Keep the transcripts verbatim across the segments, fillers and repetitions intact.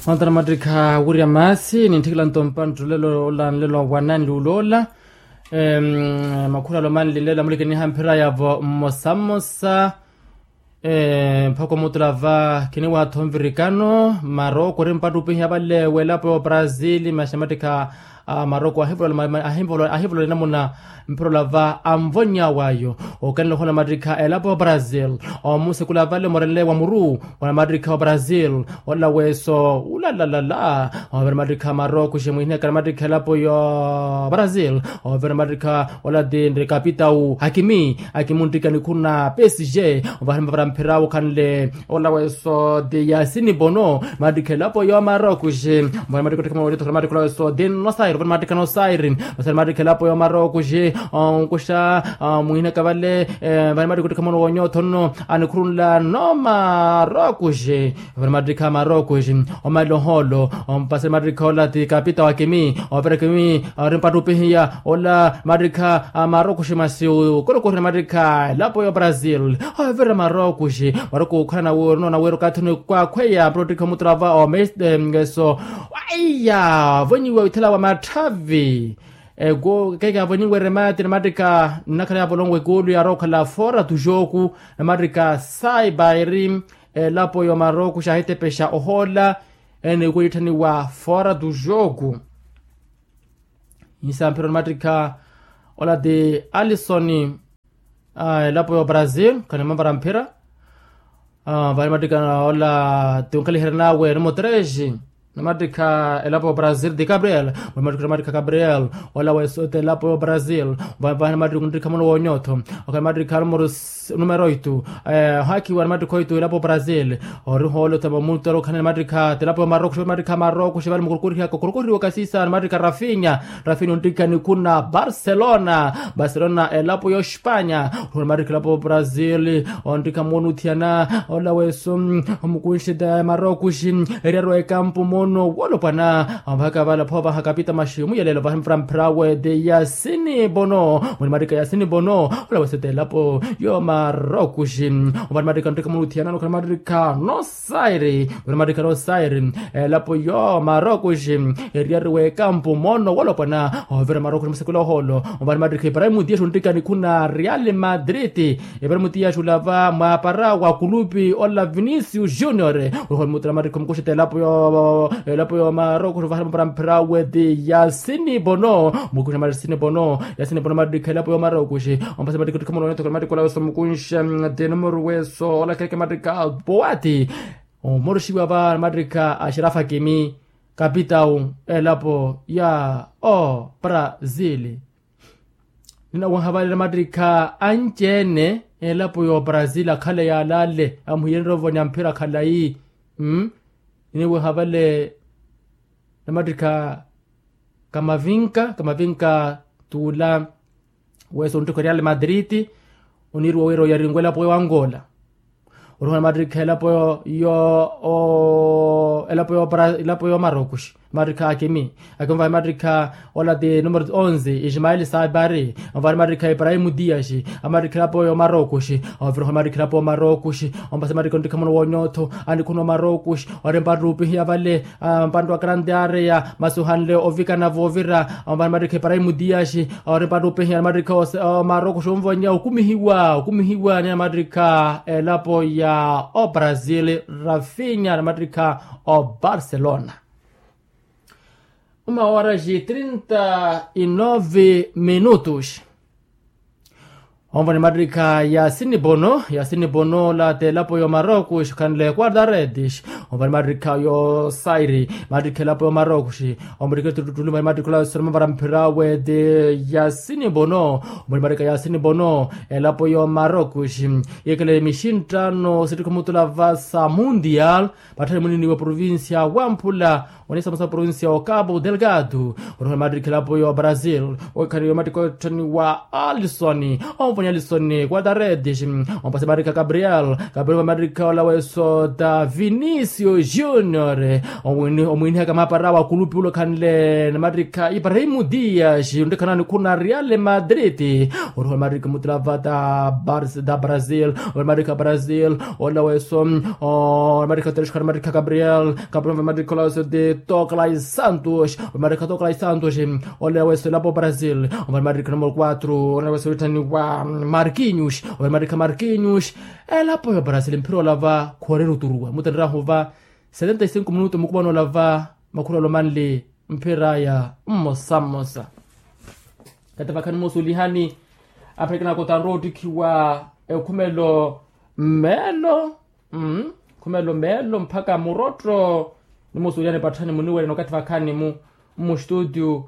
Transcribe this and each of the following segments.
Mantana mattikha wirya maasi nintthikila nto mpanttulelo ola nlelo wa nanluula ola. Makhuralo manlinlelo amulikiniha mphira yavo mmosa mmosa. Mphoko mutula va khiniwaatho nvirikano maroko ori mpattupihiya vale welapo ya oprazili maxi mattikha. Maroko ahivolola enamuna mphirolo va anvonny'awe ayo. Okanela ohola mattikha elapo ya oprazil omusikula vale omorenle wa muru. Wana mattikha oprazil ola weso ulalalala. Overa mattikha maroko ximwihinekana mattikha elapo ya oprazil. Overa mattikha ola ti nri kapitau akimi akimi onttikani khuna psg. Ovahani mavara mphira wokhanle ola weso ti yasini bono. Mattikha elapo ya maroko xi. Ovahani mattikha ottikha mwana wonyotho mattikha ola weso ti nosairi ovahani mattikha nosairi. Nosairi mattikha elapo ya maroko xi. Onkuxa mwihinaka vale. Ovahani mattikha ottikha mwana wonyotho nno anikhurunla no maroko xi. Ovahani mattikha maroko xi. Omalelo ohoolo ompasani mattikha ola ti kapitau akimi. Overa akimi ori mpattupihiya ola mattikha a maroko xi masi okorokohina mattikha elapo ya oprazil. Overa maroko xi maroko okhala nawiiro okathi onikwaakhweya mpira ottikha omutula va omeso. Aiya vonyiwa withela wa matthavi. Eko keke avonyiwa eremati namattikha nnakhala yavolonwa ekulu yarookhala fora tuxoku. Namattikha saibairi elapo ya maroko xi ahitepexa ohoola. Ene ikuwa yitthaniwa fora tuxoku. Insamphiro ni mattikha ola ti alisoni. Elapo ya oprazil khani mavara mphira. Vale mattikha ola ti onkaliherya nawe ni mutrexi. Ni mattikha elapo ya oprazil ti gabriel. Vale mattikha gabriel ola weso ti elapo ya oprazil. Vale mattikha onttikha mwana wonyotho. Okhani mattikha numero oitu. Ohaakiwa ni mattikha oitu elapo ya oprazil. Ori hoole otama muttero okhani ni mattikha ti elapo ya maroko xi vale mattikha maroko xi vale mukurukurihiyaka okurukurihiwa okasisa ni mattikha rafinya. Rafinya onttikha nikhuna barcelona. Barcelona elapo ya ospanya. Ori hoole mattikha elapo ya oprazil. Onttikha moonuthiyana ola weso omukunxi ti ya maroko xi. Eryaru ekampu moono wolopwana. Vahaka vale aphovaha kapita maxi muyelelo vahimpura mphirawe ti yasini bono. Muni mattikha yasini bono. Ola weso ti elapo ya maroko xi. Ovani mattikha onttikha muluthiyana nokhani mattikha nosairi. Ovani mattikha nosairi. Elapo ya maroko xi. Eryaru wekampu moono wolopwana ovira maroko xi musekula ohoolo. Ovani mattikha ibrahim dias onttikha nikhuna real madrid. Ibrahim dias olava mwapara wa kulupi ola vinicius junior. Oruhoni mutula mattikha omukuxita elapo ya maroko xi ovahana mapara mphirawe ti yasini bono. Mukuxa mattikha yasini bono. Yasini bono mattikha elapo ya maroko xi. Ompasa mattikha ottikha mwana wonyotho khala mattikha ola weso mukunxa ti numero weso ola keke mattikha poati. Omoruxiwa va mattikha a xirafa kimi kapitau elapo ya oprazili. Ninawaha vale namattikha anci-ene elapo ya oprazili akhale yaalale amuhiyenre ovonya mphira khalayi. Ninawaha vale namattikha kamavinka kamavinka tuula. Weso onttikha real madrid oniiriwa wira oyarinwe elapo ya angola. Oruhana mattikha elapo yo elapo ya maroko xi. Mattikha akimi akimi vahi mattikha ola ti numero onze ismael sabari. Ovani mattikha ibrahim dias. Amattikha elapo ya maroko xi. Oviroha mattikha elapo ya maroko xi. Ompasa mattikha onttikha mwana wonyotho anikhuna wa maroko xi. Ori mpattupihiya vale mpantu wa grande area masi ohanle ovikana voovira. Ovani mattikha ibrahim dias. Ori mpattupihiya ni mattikha omaroko xi onvonya okumihiwa okumihiwa ni mattikha elapo ya oprazil rafinya ni mattikha obarcelona. Uma horas e trinta e nove minutos. Onvani mattikha yasini bono yasini bono ola ti elapo ya omaroko xi khanle quarta redes. Onvani mattikha yosairi mattikha elapo ya omaroko xi. Omuttikha tuttulu mani mattikha ola sona mavara mphirawe ti yasini bono. Omuttikha mattikha yasini bono elapo ya omaroko xi. Yekele mixinttano sittikha omutula vasa mundial. Patthani munini wa provincia wamphula onisamusa provincia wa cabo delgado. Oruhana mattikha elapo ya obrazil. Okhaniwa mattikha otthaniwa alison. Nelson guadaredes, ompasa matrikha gabriel, gabriel matrikha ola weso ta vinicio junior, omwinihaka mapara wa kulupi ulokhanle na matrikha ibrahimo dias ontikhanani khuna real madrid. Oriho matrikha mutulava ta brazil, oriho matrikha brazil ola weso matrikha tereshkha matrikha gabriel, gabriel matrikha ola weso de tokla santos, matrikha tokla santos. Ole wesela po brazil, omari matrikha numero quatro ole wesela othaniwa markinyus, omari matrikha markinyus. Elapo ya brazil mphira olava khorera oturuwa mutenerahu va setenta e cinco minuto mukupano olava makhuralo manli mphira ya mmosa mmosa. Kati vakhani mosulihani apherekenaka otanrwa ottikhiwa ekhumelo mmeelo. Khumelo meelo mpakha murotto. Nimusuulyani patthani muniwerya nokathi vakhaani-mu mmustuutyu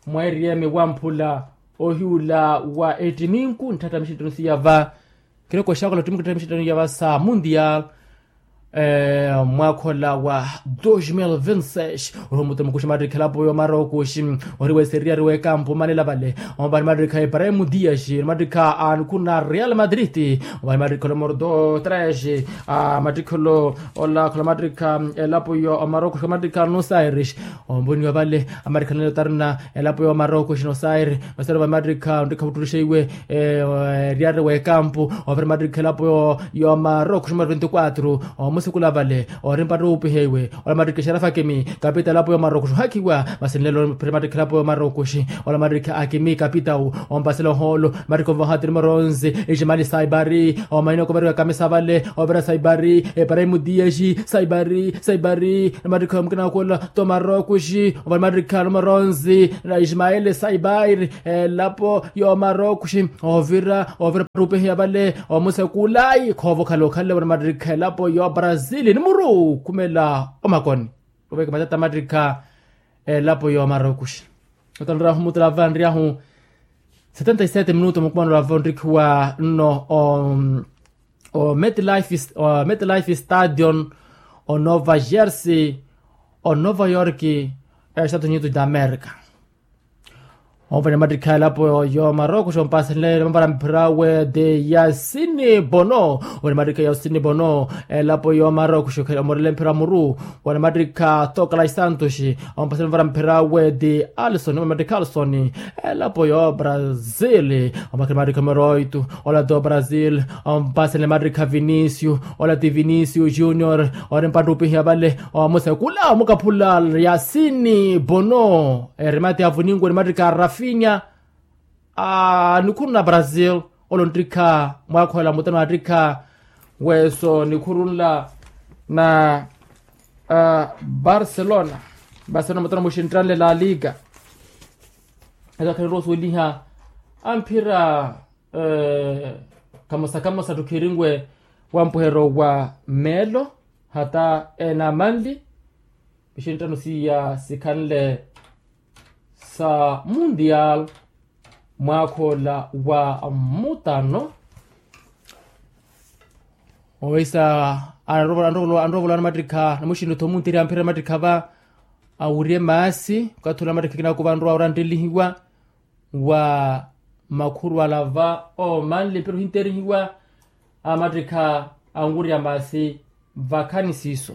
mwa eriyeme wamphula ohiwula wa ettiminku ntthatta mixittono siyava. Kiroko xakola ttiminku ntthatta mixittono yava sa mundial mwaakhola wa dos mil vinti seis. Oriho muttemu kuxi mattikhi elapo yomarokuxi ori weseriya ori wekampu omanela vale. Omapari mattikha ibrahimo dias ori mattikha a nikhuna real madrid. Omapari mattikhi olo mordo tres a mattikholo ola khola mattikha elapo yo omarokuxi mattikha nosaires. Omboniwa vale amattikha nelo tarina elapo yo omarokuxi nosaires. Nosaires vale mattikha onttikha vuttulixe iwe eriyari wekampu. Ovira mattikha elapo yo omarokuxi numero veintiquatro omusikula vale. Ori mpattupihe iwe ola mattikha exarafa kimi kapita elapo yo omarokuxi ohakhiwa masi nlelo ovira mattikha elapo yo omarokuxi. Ola mattikha akimi kapita ompasela ohoolo mattikha onvaha ti numero onze. Iximali saibari omaina okoverika kamisa vale. Ovira saibari eparaimu dias saibari saibari. Mattikha mukina wakola ti omarokuxi ovira mattikha numero onze na iximali saibari. Elapo yo omarokuxi ovira ovira pattupiheya vale. Omusekulayi khoova okhala okhanle ovira mattikha elapo yo brazil ni muru khumela omakoni. Oveke matata mattikha elapo yo omarokuxi. Otalerahu mutela vanriyahu setenta e sete minuto mukumano lava onttikhiwa nno o metlife stadion o nova jersey o nova york estados unidos da america. Omvani mattikha elapo yo marokuxi ompasenle mavara mphira we de yasini bono. Omvani mattikha yasini bono elapo yo marokuxi omorele mphira muru. Omvani mattikha tokala isantuxi ompasele mavara mphira we de alison omvani mattikha alison. Elapo yo brazil ompasele mattikha moroitu ola do brazil. Ompasele mattikha vinicio ola ti vinicio junior. Ori mpattupihiya vale omusekula omukaphula yasini bono. Erimati avuningu ori mattikha rafinya a nikhuru na brazil. Olo nttikha mwaakhola mutano attikha weso nikhuru nla na barcelona. Barcelona mutano muxinttanle la liga. Ekakhaliru osuweliha amphira kamosa kamosa ttukhirinwe wampuheryo wa meelo hata ena manli. Mixinttano siya sikhanle sa mundial mwaakha ola wa mutano. Oweisa anrovola anrovola anrovola na mattikha na muxinttano tho muntirya amphira na mattikha va awirye maasi okathi ola mattikha kinakuva anrowa ora anttelihiwa wa makhuru ala va omanle mphira ohinterihiwa. Amattikha anwirya maasi vakhani siiso.